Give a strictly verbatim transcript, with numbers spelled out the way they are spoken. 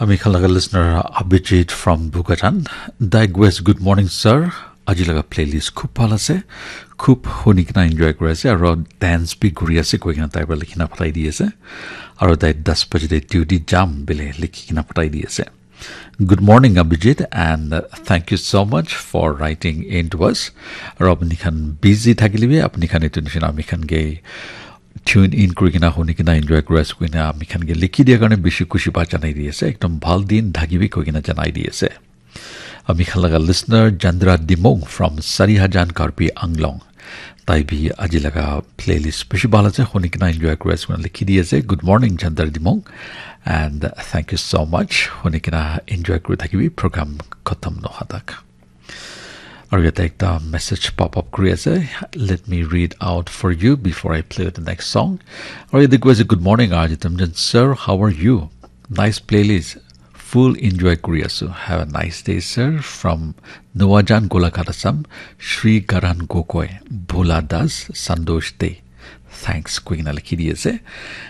Ami khan laga listener Abhijit from Bukatan. Dai West, good morning sir. Aji laga playlist khub bhal ase. Khub huni kena enjoy kuri ase aro dance bi kuri ase koi kena tai para likhi na pathai di ase. Aro dai das baje te duty jam bole likhi kena pathai di ase. Good morning Abhijit, and uh, thank you so much for writing in to us. Aro apni khan busy thakile bi apni khan etu nishina ami khan ke tune in kuri kena huni kena enjoy kuri ase koina ami khan ke likhi dia karne bishi khushi pa janai di ase, ekdom bhal din thakibi koi kena janai di ase. Ami khan laga listener Chandra Dimong from Sarihajan Karbi Anglong, tai bi aji laga playlist bishi bhal ase, huni kena enjoy kuri ase koina likhi di ase. Good morning Chandra Dimong, and thank you so much, huni kena enjoy kuri thakibi program khatam noha tak. Aru yate ekta message pop up kuri ase. Let me read out for you before I play the next song. Aru yate koi ase, good morning R J Temjen sir, how are you? Nice playlist, full enjoy kuri asu. Have a nice day sir. From Nuwajan Golaghat Assam, Shri Garan Gogoi, Bhola Das, Sandosh Dey. Thanks koi kena likhi di ase.